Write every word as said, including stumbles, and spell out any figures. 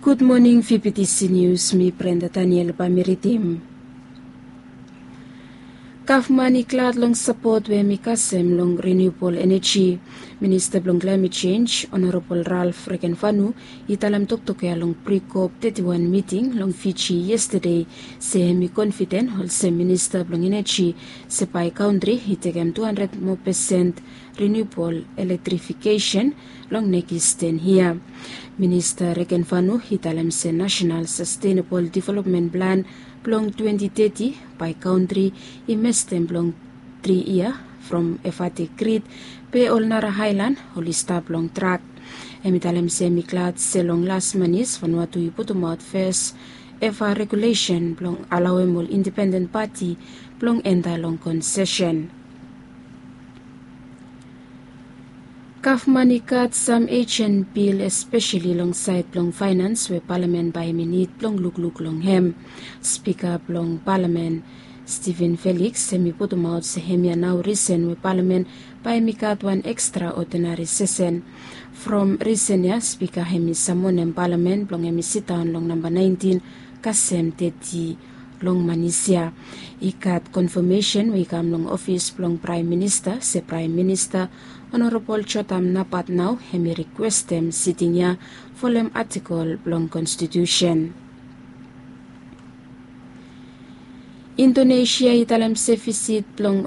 Gud moning, fifiti si nius, mi Brenda Daniel bae mi ridim. Gavman i glad long sapot we hem i kasem long renewabol eneji. Minista blong klaemet jenj, Honorabol Ralph Regenvanu, i talem toktok ya long Pre-COP teti wan miting long Fiji yestade, se hem i konfiden olsem minista blong eneji, se bae kantri i tekem tu handred moa pesen renewabol elektrifikesen long nekis ten yia. Minista Regenvanu i talem se Nasenal Sastenabol Developmen Plan blong twenti teti bae kantri i mestem blong tri yia from Efate Grid, be ol nara aelan oli stap long trak. Hem i talem se hem i glad se long las manis Vanuatu i putumaot fes eva regulesen blong alaoem ol indipenden pati blong enta long konsesen. Gavman i gat sam ejen bil, espeseli long saed blong faenans we palamen bae hem i nid blong lukluk long hem. Spika blong palamen, Steven Felix, hem i putumaot se hemia nao risen we palamen bae hem i gat wan ekstraodinari sesen. From risen ya, spika hem i samonem palamen blong hem i sidaon long namba naentin kasem teti long manis ya. I gat konfamesen we i kam long ofis blong Praem Minista se Praem Minista Honorabol Jotam Napat nao hem i rikwestem siting ya folem atikol blong konstitusen. Indonesia i talem se visit blong